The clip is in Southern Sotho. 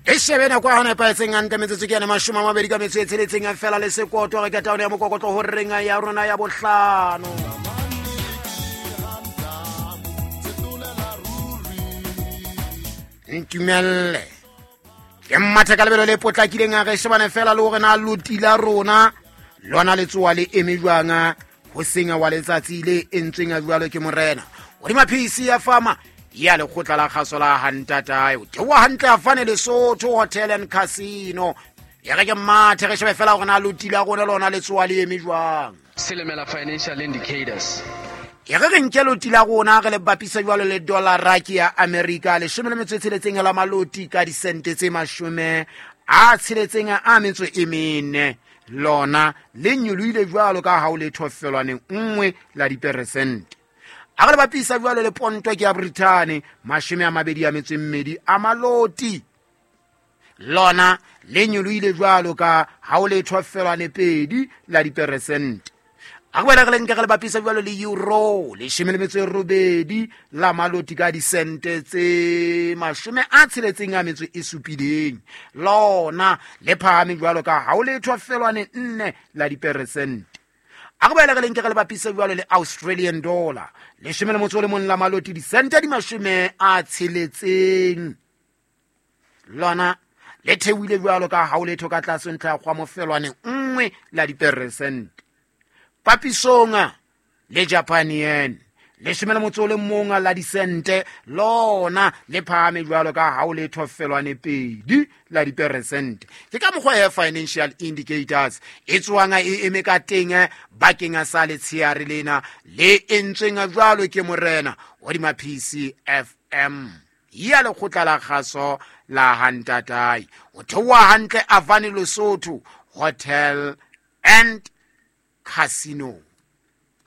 E shebe nako ya nepahetseng hantle, metsotso ke yane 20 ka metso e tsheletseng fela le sekoto. Re ka taolo ya mokokotlo ho reng ya rona ya bohlano. Ntumelle ke mmathe ka lebelo le potlakileng, a re shebane fela le hore na loti la rona lona letsoa le eme jwang ho senya wa letsatsi le entsweng a jwalo ke morena hodima PC ya fama ya lekgotla la kgaso la hantatae o theoha hantle a fane Lesotho Hotel and Casino. E re ke mmathe re shebe fela gore na loti la rona lona letsoa le eme jwang. Silimela Financial Indicators. E re re nke loti la rona re le bapisa jwalo le dollara ke ya America, 16 la maloti ka disente tse 64, lona le nyolohile jwalo ka ha o le thofelwaneng 1 la diperesente. A re le bapisa jwalo le ponto ke ya Britain, 22 a maloti, lona le nyolohile jwalo ka ha o le thofelwane 2 la diperesente. A re boele re le nke re le bapisa jwalo le euro, 18 la maloti ka disente tse 67, lona le phahame jwalo ka ha o le thofelwane 4 la diperesente. A re boele re le nke re le bapisa jwalo le Australian dollar, 11 la maloti disente di 60, lona le theohile jwalo ka ha o letho ka tlase ntlha ya kgwamofelwane 1 la diperesente. Papisong le Japan yen, 11 la disente, lona le phahame jwalo ka ha o le thofelwane 2 la diperesente. Ke ka mokgwa ya Financial Indicators e tswang e eme ka teng bakeng sa letsheare lena le entsweng jwalo ke morena hodima PCFM ya lekgotla la kgaso la hantatae. O theoha hantle Avani Lesotho Hotel and Casino.